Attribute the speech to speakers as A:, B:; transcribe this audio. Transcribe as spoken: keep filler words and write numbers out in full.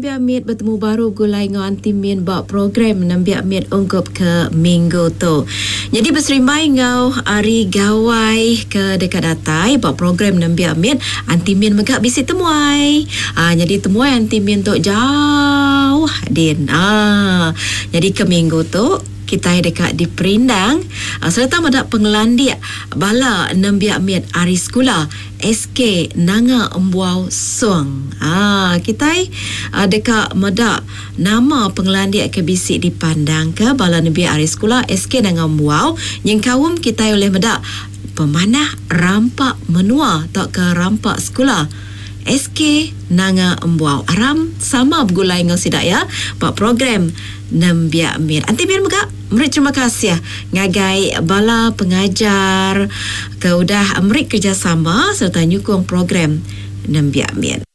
A: Nembiak Mit betemu baru gulai enggau Aunty Min ba program Nembiak Mit ungkup ke minggu tu. Jadi beserimbai enggau hari gawai ke deka datai ba program Nembiak Mit, Aunty Min mega bisi temuai. Ah, jadi temuai Aunty Min tu jauh din. Ah, jadi ke minggu tu kitai deka diperindang sereta meda pengelandik bala nembiak mit ari sekula S K Nanga Embuau Song. Ah, kitai deka meda nama pengelandik ke bisi dipandangka bala nembiak ari sekula S K Nanga Embuau nyengkaum kitai ulih meda pemanah rampa menua tauka rampa sekula S K Nanga Embuau. Aram sama begulai enggau sida ya ba program Nembiak Mit. Anti Min mega meri terima kasih ngagai bala pengajar ke udah meri kerjasama sereta nyukung program Nembiak Mit.